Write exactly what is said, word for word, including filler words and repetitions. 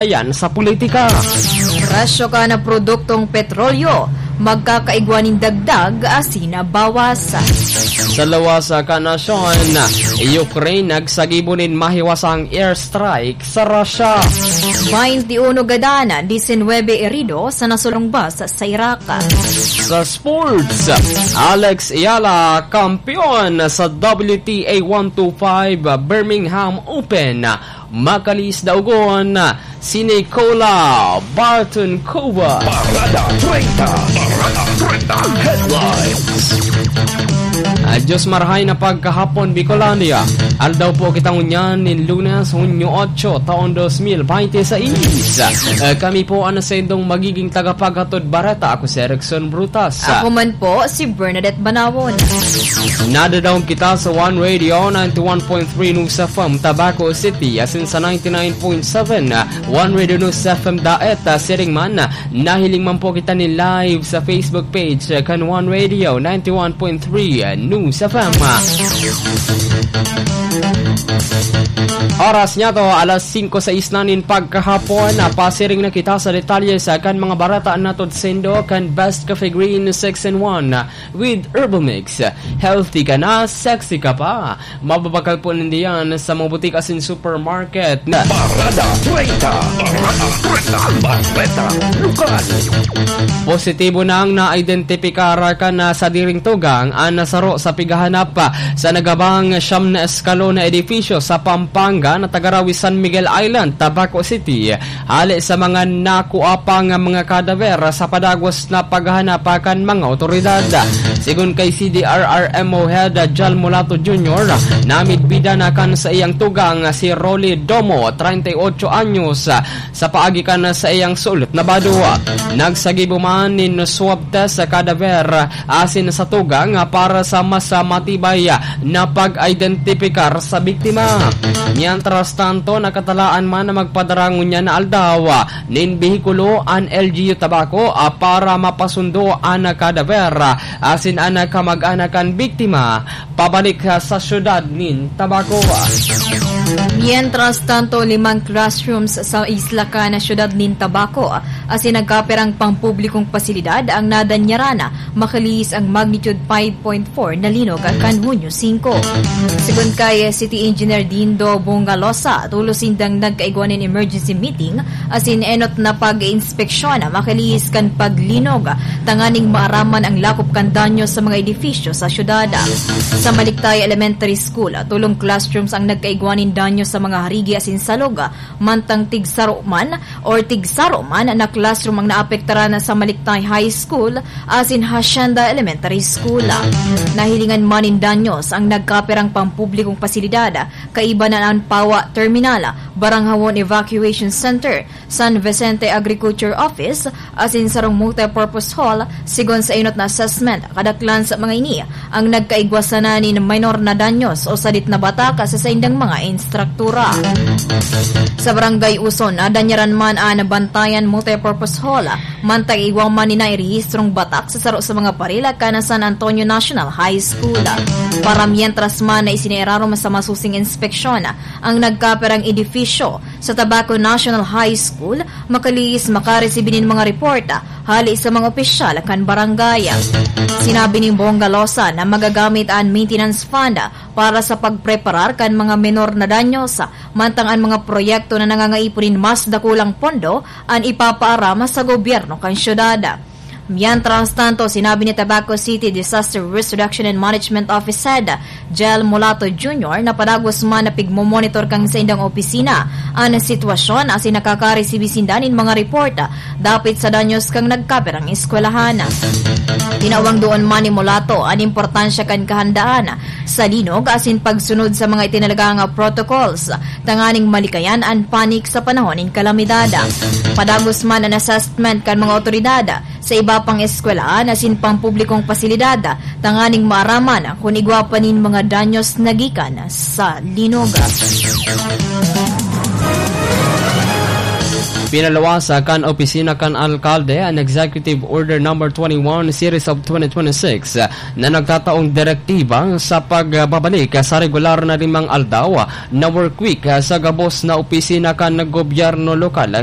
Ayan sa politika. Presyo kan produktong petrolyo, magkakaigwa nin dagdag asin bawas. Sa lawas kan nasyon, Ukraine nagsagibo nin mahiwasang airstrike sa Russia. Bainti uno gadan, disinwebe herido sa nasulong bus sa Iraq. Sa sports, Alex Eala, kampeon sa W T A one two five Birmingham Open. Makalihis daogon, si Nicola Bartonkova. Parada treinta. Parada treinta Headlines. Ah, Diyos marahay na pagkahapon, Bicolandia. Aldaw po kita ngunyan nin Lunes, Hunyo otso, taon dos mil bente seis. Ah, kami po ang saindong magiging tagapaghatod bareta. Ako si Erickson Brutas. Ako man po, si Bernadette Banawon. Nadadaog kita sa One Radio, ninety-one point three News F M, Tabaco City, asin sa ninety-nine point seven One Radio News F M Daet, ah, siring man, ah, nahiling man po kita nin live sa Facebook page, ah, kan One Radio, ninety-one point three News F M. Oras niya to, alas singko sais na nin pagkahapon. Napasiring na kita sa detalye sa kan mga bareta na hatod saindo kan Best Cafe Green six in one with Herbal Mix. Healthy ka na, sexy ka pa. Mababakal po ninda yan sa mga butik asin supermarket. Parada treinta. Parada treinta. Bareta Lokal. Positibo nang naidentifika kan sadiring tugang an nasaro sa pighahanap sa nagabang siyam na eskalon na edifisyo sa Pampanga na taga-Rawi, San Miguel Island, Tabaco City. Hali sa mga nakua pang mga kadawer sa padagos na paghahanap kan mga otoridad. Sigon kay C D R R M O Head Jal Mulato Junior, namidbidan na kan saiyang tugang si Rolly Domo, treinta y ocho anyos, sa paagi kan saiyang sulit na bado. Nagsagibo man nin swab test sa kadawer asin sa tugang para sa mas matibay na pag-identipikar sa biktima. Mientras tanto, nakatalaan man na magpadara ngunyan na aldaw nin behikulo an L G U Tabaco, ah, para mapasundo an kadawer, ah, asin an kamag-anak kan biktima pabalik, ah, sa siyudad nin Tabaco. Mientras tanto, limang classrooms sa isla kan siyudad nin Tabaco asin nagkapirang pampublikong pasilidad ang nadanyaran, makalihis ang magnitude five point four na linog kan Hunyo singko. Sigon kay City Engineer Dindo Bongalosa, tolos sindang nagkaigwa nin emergency meeting asin enot na pag-inspeksyon makalihis kan paglinog tanganing maaraman ang lakop kan danyo sa mga edifisyo sa syudad. Sa Maliktay Elementary School, tolong classrooms ang nagkaigwa nin danyo sa mga harigi asin salog, mantang tigsaro man or tigsaro man na classroom ang naapektaran sa Maliktay High School asin Hacienda Elementary School. Nahilingan man nin danyos ang nagkapirang pampublikong pasilidad, kaiba na an Pawa Terminal, Baranghawon Evacuation Center, San Vicente Agriculture Office, asin sarong multipurpose hall, sigon sa enot na assessment. Kadaklan sa mga ini ang nagkaigwa sana nin minor na danyos o sadit na batak sa saindang mga instruktura. Sa Barangay Uson, nadanyaran man an Bantayan Multipurpose Hall, mantang igwa man ni nairehistrong batak sa saro sa mga parila kan San Antonio National High School. Para mientras man na isinirarom sa masusing inspeksyon ang nagkapirang edifisyo sa Tabaco National High School, makalihis makaresibi nin mga report hali sa mga opisyal kan barangay. Sinabi ni Bongalosa na magagamit an maintenance fund para sa pagpreparar kan mga menor na danyos, mantang an mga proyekto na nangangaipon nin mas dakulang pondo an ipapaaram sa gobyerno kan syudad. Mientras tanto, sinabi ni Tabaco City Disaster Risk Reduction and Management Office Head Jel Mulato Junior na padagos man na pigmomonitor kan saindang opisina an sitwasyon asin nakakaresibi sinda nin mga report dapit sa danyos kan nagkapirang eskwelahan. Tinawang doon man ni Mulato an importansya kan kahandaan sa linog asin pagsunod sa mga itinalagang protocols tanganing malikayan an panik sa panahon nin kalamidad. Padagos man an assessment kan mga otoridad sa iba pang eskwelahan asin pampublikong pasilidad tanganing maaraman kun igwa pa nin mga danyos na gikan sa linog. Pinaluwas kan opisina kan alkalde an Executive Order Number twenty-one Series of twenty twenty-six na nagtataong direktiba sa pagbabalik sa regular na limang aldaw na work week sa gabos na opisina kan gobyerno lokal.